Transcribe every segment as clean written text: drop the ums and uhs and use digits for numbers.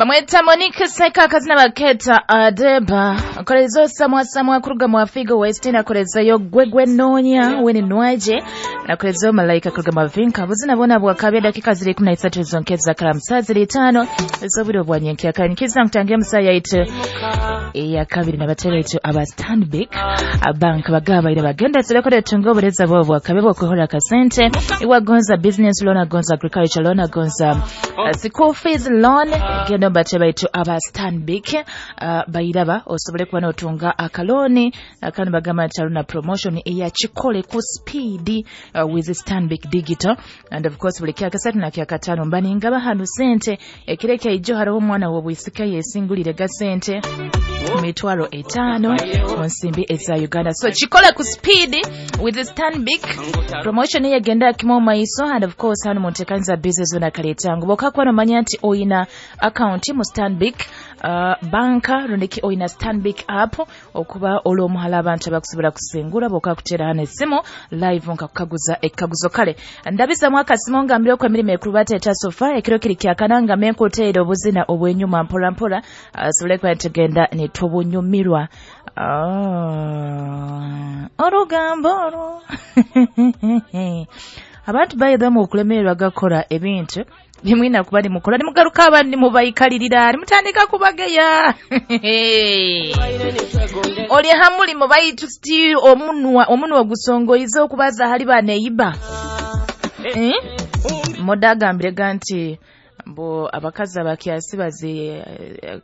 Bamweta Monique Seka akazina baketa Adeba akolezo samwa samwa kuruga mu Afigo West nakolezayo gwegwe nonya weni nwaje nakolezo malaika kuruga mu Vinka buzina bona bwakabya dakika ziri 13 zonkeza kala ziri 5 zobiro bwa nyenkia kanyikiza mtangia musaya itu ya kabiri na batera itu aba Stanbic bank bagaba ira bagenda turekode tungo bureza bo bwakabe bwo kuhora kasente iwagonza business loan agonza agriculture loan agonza school fees loan genda batera itu aba Stanbic bairaba osobole kuba notunga akaloni akandi bagamba nti promotion eya chikole ku speed with Stanbic Digital and of course buli kyakasatu na kyakatano mbaninga bahanu sente ekireke ijo hariho omwana wobwisika yesingulire ga sente mitwaro 5 onsimbi eza Uganda. So chikole ku speed with Stanbic promotion yegenda kimo maiso and of course hano muntekanza business na kaletango bokakwa no manya nti oyina account mu Stanbic banka rundiki oyina Stanbic app okuba olwomuhala abantu abakusobola kusengura bokakutera hano esimu live nkakukaguza ekkaguzo kale ndabiza mwaka simonga mbiro kwa emirimu ekulu bateeta sofa ekiro kiri kyakananga menkuteera obuzina obwenyuma mpola mpola sobole kuba tugenda ne tubunyumirwa olugambo olwo abantu bayidhamu okulemererwa gakora ebintu bimwina kuba nimukola nimugaruka abandi mubayikalirira nimutandika kubageya oli hamulimo baitu still omunwa gusongoiza okubaza hali baneyiba modagambire ganti mbo abakazi abakyasi baze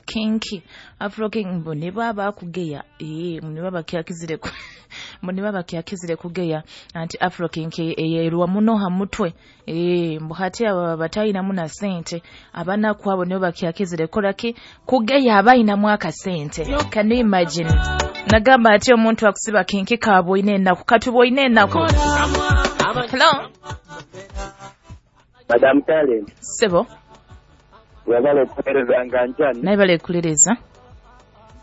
kinki afro king mbo ne baba kugeya ne baba kyakizire mbo ne baba kyakizire kugeya anti afro kinki eyerwa muno ha mutwe mbo hati aba batayina muna sente abana kwabo ne baba kyakizire kolaki kugeya abayina mwaka sente. Can you imagine? Nagamba ati omuntu akusiba kinki kabo ine naku katubo ine naku. Hello Madam Talent. Sebo. Wabale kulereza nganjani. Naye bale kulereza.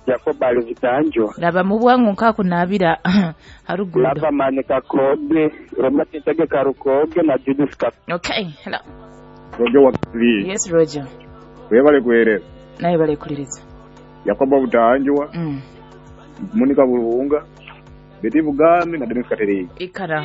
Jacob alivitanjo. Laba mubwangu nkakunabira harugudo. Laba manika kobe, Robert Ntege karukoge na Judith Kap. Okay, hello. Roger wa TV. Yes, Roger. Webale kulereza. Naye bale kulereza. Jacob Butanjwa. Monica Bulunga. Betty Bugami na Dennis Katerei. Ikara.